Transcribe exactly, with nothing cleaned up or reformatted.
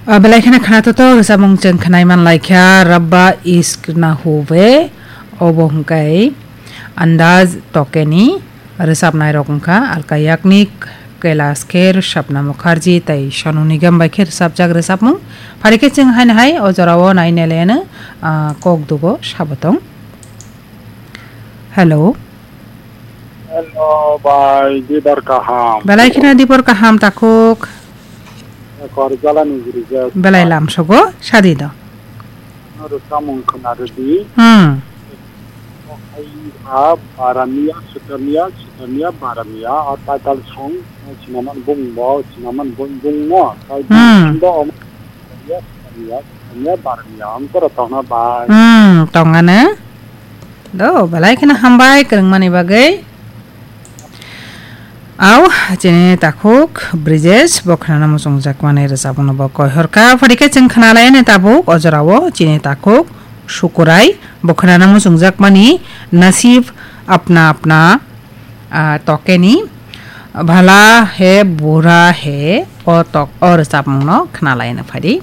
Ah, belai kheno khwnaithothok rwchapmung chwng khwnai man lai kha, Rabba Ishq Na Hobe, obo hwnkhe Andaz Tokeni rwchapnai rok wngkha, Alka Yagnik, Kailash Kher, Sapna Mukherjee tei Sonu Nigam bai khe rwchapjak rwchapmung. Phari khe chwng haino hai o jorao nai neleno, ah, kok dugo sabo tong. Hello. Hello, bai, dibor kaham. Belai kheno dibor kaham, takhuk. Kor jala ni giri je. Belai lam sogo, sadi do. Ano rwchapmung khwna rwdi. Hmm. Ai ha Baramia, Sutamia, Sutamia, Baramia, a title song, sinaman bung bo, sinaman bung bung mo. Tai Hmm. Bo om, Sutamia, Sutamia, Baramia, ang koro tongna bai. Hmm, tongana. Do, belai kheno hambai kwrwngmani bagwi. Au, chini takhuk Brijesh, bo khwnana muchungjakmani rwchapmungno bo koihorkha. Phari khe chwng khwnalaini tabuk o jorao chini takhuk Sukurai, bo khwnana muchungjakmani Nasib Apna Apna, ah, Tokeni, Bhala Hai Bura Hai, o tok, o rwchapmungno khwnalaini phadi.